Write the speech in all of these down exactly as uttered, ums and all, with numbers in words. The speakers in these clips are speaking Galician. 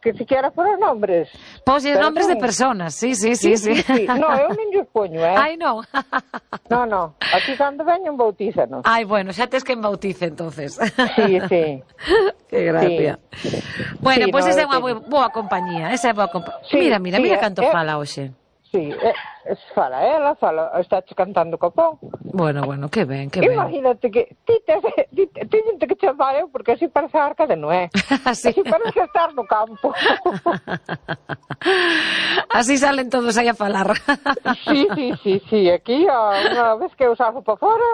que siquiera foron nombres. Pois nombres de personas, sí, sí, sí. Sí, sí, sí. No, eu non lles poño, eh? Ai, non. No, no, aquí cando veñen bautízanos. Ai, bueno, xa tes que bautice, entonces. Sí, sí. Que gracia. Sí. Bueno, Sí, pois no, esa é unha tengo. boa compañía, esa é boa compañía. Sí, mira, mira, sí, mira eh, canto eh. fala hoxe. Sí, eh, fala ela, fala, está cantando copón. Bueno, bueno, que ben, que ben. Imagínate que ti te, ti, te, ti te que chamar eu, porque así parece a Arca de Noé. Así. Así parece estar no campo. Así salen todos aí a falar. Sí, sí, sí, sí, aquí unha vez que eu salgo para fora,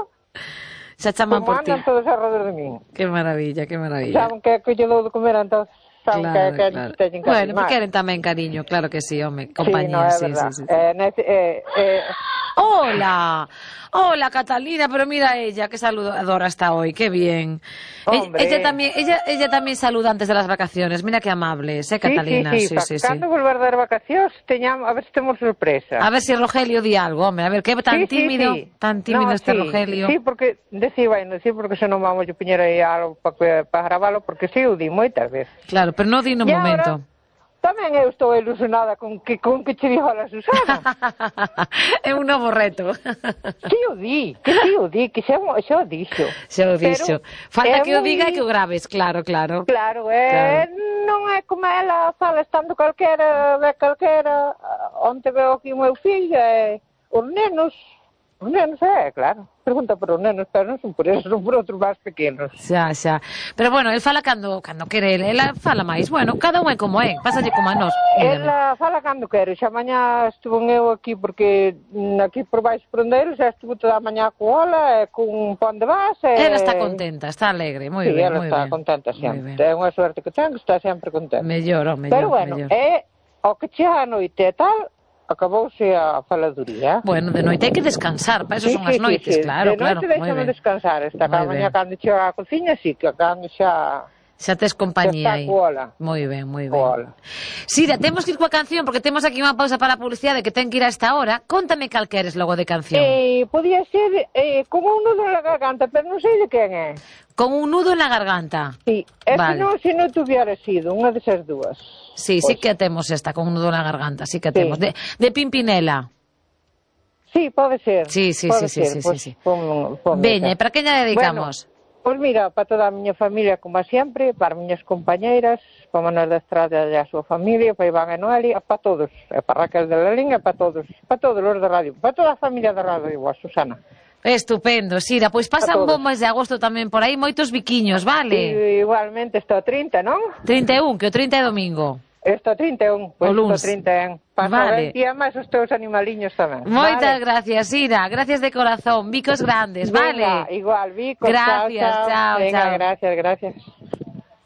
xa chaman como por ti. andan todos alrededor de min. Que maravilla, que maravilla. Saben que, que lle dou de comer, entón saben Claro, que, que claro. teñen que Bueno, animar. queren tamén cariño, claro que sí, home, Sí, compañía, no, é sí, verdad. sí, sí, sí. Eh, nece, eh, eh, Hola, hola Catalina, pero mira ella, qué saludadora está hoy, qué bien. Hombre. Ella también, ella, ella también saluda antes de las vacaciones, mira qué amable, ¿eh, Catalina? Sí, sí, sí, sí, sí, cando sí. volver das vacacións, teñamos, a ver se temos sorpresa. A ver si Rogelio di algo, hombre, a ver, qué tan Sí, sí, tímido, sí. tan tímido No, este sí, Rogelio. Sí, porque, decía, bueno, sí, porque se non vamos a poñer aí algo para pa gravalo, porque sí, o di moitas veces. Claro, pero no di no E momento. Ahora, tamén eu estou ilusionada con que, con que che dijo a la Susana. É un novo reto. Sí o di, que sí o di, que xa, xa o dixo. Xa o dixo. Falta que o moi... diga e que o graves, claro, claro. Claro, é, claro. Non é como ela fala estando calquera, ve calquera, onte veo aquí o meu fillo, é, os nenos, os nenos, é, claro. Pregunta por os nenos, pero non son por eso, son por outros máis pequenos. Xa, xa. Pero bueno, el fala cando cando quere, ela fala máis. Bueno, cada un é como é, pásalle como a nós. Ela fala cando quere, xa mañá estuvo eu aquí, porque aquí por baixo prondeiro xa estuvo toda a mañá coa ola, e cun pón de base. Ela está contenta, está alegre, moi sí, ben, ela moi está ben. contenta sempre. É unha suerte que ten, que está sempre contenta. Mellor, o mellor, pero bueno, mellor. é o que chega a noite e tal, acabouse a faladuría. Bueno, de noite hai que descansar, para eso sí, son as sí, noites, sí, claro, de claro. De noite deixame descansar, esta cada mañá cando chega a cociña, sí, que cando xa... Xa tes compañía aí. Moi ben, moi ben. Cola. Sira, temos que ir coa canción, porque temos aquí unha pausa para a publicidade que ten que ir a esta hora. Contame cal queres logo de canción. Eh, podía ser eh, como un nudo na garganta, pero non sei de quen é. Con un nudo en la garganta. Sí, é vale. que non, se non tuviera sido unha desas dúas. Sí, pues... sí que temos esta, con un nudo en la garganta, sí que temos. Sí. De, de Pimpinela. Sí, pode ser. Sí, sí, pode sí, ser. sí, pues, sí, sí. Pon, pon Veña, e para que lla dedicamos? Bueno, pois pues mira, para toda a miña familia, como sempre, para as miñas compañeiras, para Manuel da Estrada e a súa familia, para Iván e Noelia, para todos, e para Raquel de la Linha, para todos, para todos os da radio, para toda a familia da radio, a Susana. Estupendo, Sira, pois pasan bom mes de agosto tamén por aí, moitos biquiños, vale? E, igualmente, está o trinta, non? trinta e un, que o trinta é domingo. Está o trinta e un, pois pues, está o trinta e un. Pasa vale. ben, e máis os teus animaliños tamén. Moitas vale. gracias, Sira, gracias de corazón, bicos grandes, Venga, vale? igual, bicos, gracias, chao, chao. chao, Venga, chao. gracias, gracias.